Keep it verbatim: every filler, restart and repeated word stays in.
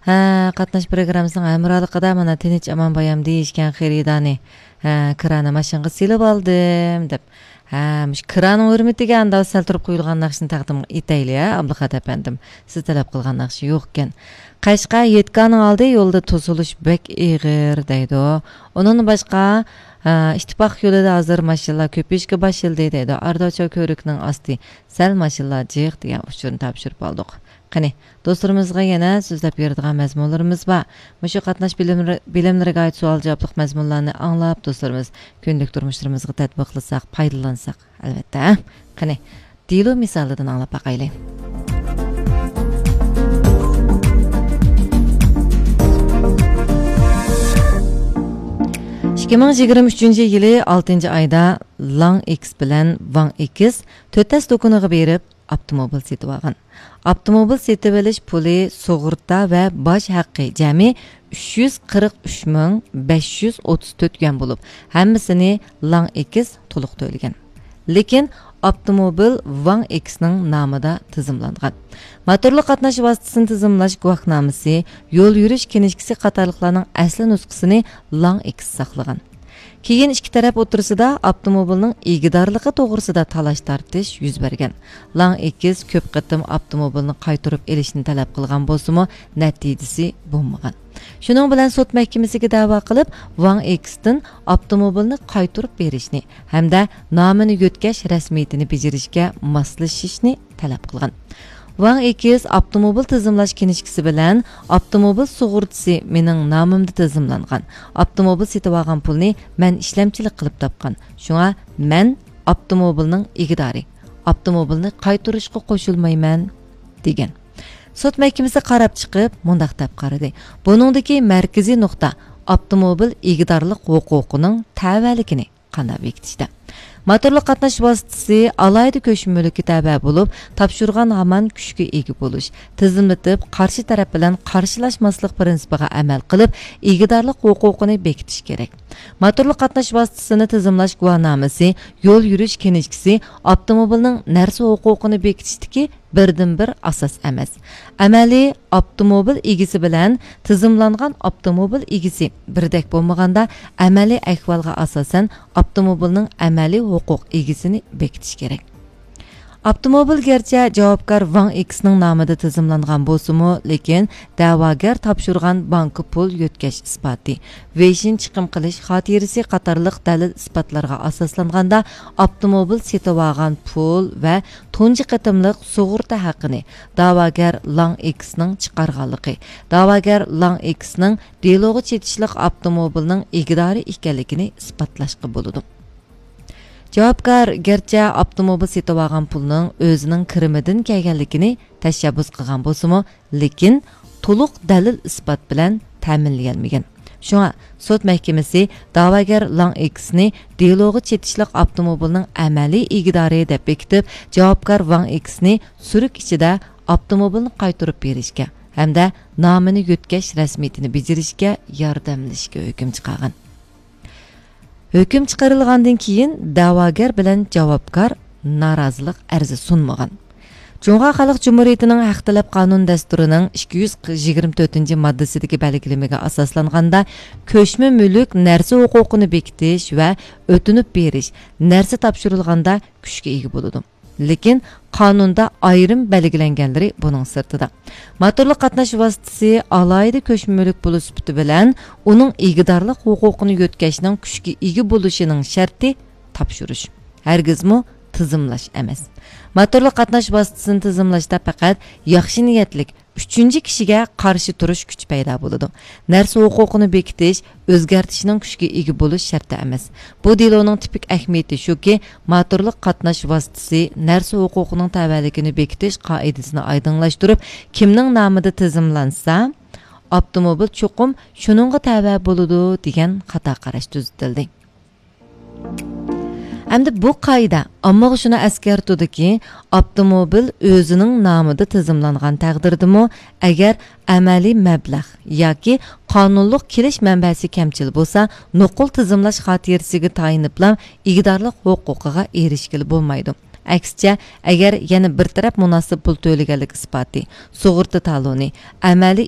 ھە، قاتناش پروگراممىسىنىڭ ھەمراھلىقىدا مانا تىنچ ئامان بايام دېيىشكەن خېرىدارنى، ھە، كىرانى ماشىنىغا سېلىپ ئالدىم دەپ. ھە، مۇشۇ كىرانىڭ ھۆرمىتىگە ئانداق سەل تۇرۇپ قويۇلغان ناخشىنى تەقدىم ئېتەيلى، ھە، ئابلىخات ئەپەندىم. سىز تەلەپ قىلغان ناخشا يوقكەن. قەشقەر يۆتكەلنىڭ ئالدى يولدا توسۇلۇش بەك ئېغىر دەيدۇ. ئۇنىڭدىن باشقا، ھە، ئىتتىپاق يولىدا ھازىر ماشىنىلار كۆپىيىشكە باشلىدى دەيدۇ. ئارىداچال كۆۋرۈكنىڭ ئاستى سەل ماشىنىلار جىق دېگەن ئۇچۇرنى تاپشۇرۇپ ئالدۇق. قېنى، دوستلىرىمىزغا يەنە سۆزلەپ بېرىدىغان مەزمۇنلىرىمىز بار. مۇشۇ قاتناش بىلىملىرى، بىلىملىرىگە ئائىت سوئال-جاۋابلىق مەزمۇنلارنى ئاڭلاپ، دوستلىرىمىز كۈندىلىك تۇرمۇشلىرىمىزغا تەتبىقلىساق، پايدىلانساق، ئەلۋەتتە. قېنى، دېلو مىسالىدىن ئاڭلاپ باقايلى. ئىككى مىڭ يىگىرمە ئۈچىنچى يىلى ئالتىنچى ئايدا لاڭ ئېكس بىلەن ۋاڭ ئېكس تۆتەس دۇكىنىغا بېرىپ، ئاپتوموبىل سېتىۋالغان. ئاپتوموبىل سېتىۋېلىش پۇلى سۇغۇرتا ۋە باج ھەققى جەمئىي ئۈچ يۈز قىرىق ئۈچ مىڭ بەش يۈز ئوتتۇز تۆت يۈەن بولۇپ، ھەممىسىنى لاڭ ئېكس تولۇق تۆلىگەن. لېكىن ئاپتوموبىل ۋاڭ ئېكسنىڭ نامىدا تىزىملانغان. موتورلۇق قاتناش ۋاسىتىسىنى تىزىملاش گۇۋاھنامىسى، يول يۈرۈش كىنىشكىسى قاتارلىقلارنىڭ ئەسلى نۇسخىسىنى لاڭ ئېكس ساقلىغان. كېيىن ئىككى تەرەپ ئوتتۇرىسىدا ئاپتوموبىلنىڭ ئىگىدارلىقى توغرىسىدا تالاش-تارتىش يۈز بەرگەن. لاڭ ئېكس كۆپ قېتىم ئاپتوموبىلنى قايتۇرۇپ ئېلىشنى تەلەپ قىلغان بولسىمۇ، نەتىجىسى بولمىغان. شۇنىڭ بىلەن سوت مەھكىمىسىگە دەۋا قىلىپ، ۋاڭ ئېكستىن ئاپتوموبىلنى قايتۇرۇپ بېرىشنى ھەمدە نامىنى يۆتكەش رەسمىيىتىنى بېجىرىشكە ماسلىشىشنى تەلەپ قىلغان. ۋاڭ ئېكس ئاپتوموبىل تىزىملاش كىنىشكىسى بىلەن ئاپتوموبىل سۇغۇرتىسى مېنىڭ نامىمدا تىزىملانغان. ئاپتوموبىل سېتىۋالغان پۇلنى مەن ئىشلەمچىلىك قىلىپ تاپقان. شۇڭا مەن ئاپتوموبىلنىڭ ئىگىدارى. ئاپتوموبىلنى قايتۇرۇشقا قوشۇلمايمەن، دېگەن. سوت مەھكىمىسى قاراپ چىقىپ، مۇنداق دەپ قارىدى: بۇنىڭدىكى مەركىزىي نۇقتا ئاپتوموبىل ئىگىدارلىق ھوقۇقىنىڭ تەۋەلىكىنى قانداق بېكىتىشتە؟ موتورلۇق قاتناش ۋاسىتىسى ئالاھىدە كۆچمە مۈلۈككە تەۋە بولۇپ، تاپشۇرغان ھامان كۈچكە ئىگە بولۇش، تىزىملىتىپ، قارشى تەرەپ بىلەن قارشىلاشماسلىق پىرىنسىپىغا ئەمەل قىلىپ، ئىگىدارلىق ھوقۇقىنى بېكىتىش كېرەك. موتورلۇق قاتناش ۋاسىتىسىنى تىزىملاش گۇۋاھنامىسى، يول يۈرۈش كىنىشكىسى ئاپتوموبىلنىڭ نەرسە ھوقۇقىنى بېكىتىشتىكى بىردىنبىر ئاساس ئەمەس. ئەمەلىي ئاپتوموبىل ئىگىسى بىلەن تىزىملانغان ئاپتوموبىل ئىگىسى بىردەك بولمىغاندا، ئەمەلىي ئەھۋالغا ئاساسەن ئاپتوموبىلنىڭ ئەمەلىي ھوقۇق ئىگىسىنى بېكىتىش كېرەك. ئاپتوموبىل گەرچە جاۋابكار ۋاڭ ئېكسنىڭ نامىدا تىزىملانغان بولسىمۇ، لېكىن دەۋاگەر تاپشۇرغان بانكا پۇل يۆتكەش ئىسپاتى، ۋېيشىن چىقىم قىلىش خاتىرىسى قاتارلىق دەلىل-ئىسپاتلارغا ئاساسلانغاندا، ئاپتوموبىل سېتىۋالغان پۇل ۋە تۇنجى قېتىملىق سۇغۇرتا ھەققىنى دەۋاگەر لاڭ ئېكسنىڭ چىقارغانلىقى، دەۋاگەر لاڭ ئېكسنىڭ دېلوغا چېتىشلىق ئاپتوموبىلنىڭ ئىگىدارى ئىكەنلىكىنى ئىسپاتلاشقا بولىدۇ. جاۋابكار گەرچە ئاپتوموبىل سېتىۋالغان پۇلنىڭ ئۆزىنىڭ كىرىمىدىن كەلگەنلىكىنى تەشەببۇس قىلغان بولسىمۇ، لېكىن تولۇق دەلىل-ئىسپات بىلەن تەمىنلىيەلمىگەن. شۇڭا سوت مەھكىمىسى دەۋاگەر لاڭ ئېكسنى دېلوغا چېتىشلىق ئاپتوموبىلنىڭ ئەمەلىي ئىگىدارى دەپ بېكىتىپ، جاۋابكار ۋاڭ ئېكسنى سۈرۈك ئىچىدە ئاپتوموبىلنى قايتۇرۇپ بېرىشكە ھەمدە نامىنى يۆتكەش رەسمىيىتىنى بېجىرىشكە ياردەملىشىشكە ھۆكۈم چىقارغان. ھۆكۈم چىقىرىلغاندىن كېيىن دەۋاگەر بىلەن جاۋابكار نارازىلىق ئەرزى سۇنمىغان. جۇڭخۇا خەلق جۇمھۇرىيىتىنىڭ ھەق تەلەپ قانۇن دەستۇرىنىڭ ئىككى يۈز يىگىرمە تۆتىنچى ماددىسىدىكى بەلگىلىمىگە ئاساسلانغاندا، كۆچمە مۈلۈك نەرسە ھوقۇقىنى بېكىتىش ۋە ئۆتۈنۈپ بېرىش، نەرسە تاپشۇرۇلغاندا كۈچكە ئىگە بولىدۇ. لېكىن قانۇندا ئايرىم بەلگىلەنگەنلىرى بۇنىڭ سىرتىدا. موتورلۇق قاتناش ۋاسىتىسى ئالاھىدە كۆچمە مۈلۈك بولۇش سۈپىتى بىلەن ئۇنىڭ ئىگىدارلىق ھوقۇقىنى يۆتكەشنىڭ كۈچكە ئىگە بولۇشىنىڭ شەرتى تاپشۇرۇش، ھەرگىزمۇ تىزىملاش ئەمەس. موتورلۇق قاتناش ۋاسىتىسىنى تىزىملاشتا پەقەت ياخشى نىيەتلىك ئۈچىنچى كىشىگە قارشى تۇرۇش كۈچى پەيدا بولىدۇ. نەرسە ھوقۇقىنى بېكىتىش، ئۆزگەرتىشنىڭ كۈچكە ئىگە بولۇش شەرتى ئەمەس. بۇ دېلونىڭ تىپىك ئەھمىيىتى شۇكى، موتورلۇق قاتناش ۋاسىتىسى نەرسە ھوقۇقىنىڭ تەۋەلىكىنى بېكىتىش قائىدىسىنى ئايدىڭلاشتۇرۇپ، كىمنىڭ نامىدا تىزىملانسا، ئاپتوموبىل چوقۇم شۇنىڭغا تەۋە بولىدۇ، دېگەن خاتا قاراش تۈزىتىلدى. ئەمدى بۇ قائىدە ئاممىغا شۇنى ئەسكەرتىدۇكى، ئاپتوموبىل ئۆزىنىڭ نامىدا تىزىملانغان تەقدىردىمۇ، ئەگەر ئەمەلىي مەبلەغ ياكى قانۇنلۇق كېلىش مەنبەسى كەمچىل بولسا، نوقۇل تىزىملاش خاتىرىسىگە تايىنىپلا ئىگىدارلىق ھوقۇقىغا ئېرىشكىلى بولمايدۇ. ئەكسىچە، ئەگەر يەنە بىر تەرەپ مۇناسىپ پۇل تۆلىگەنلىك ئىسپاتى، سۇغۇرتا تالونى، ئەمەلىي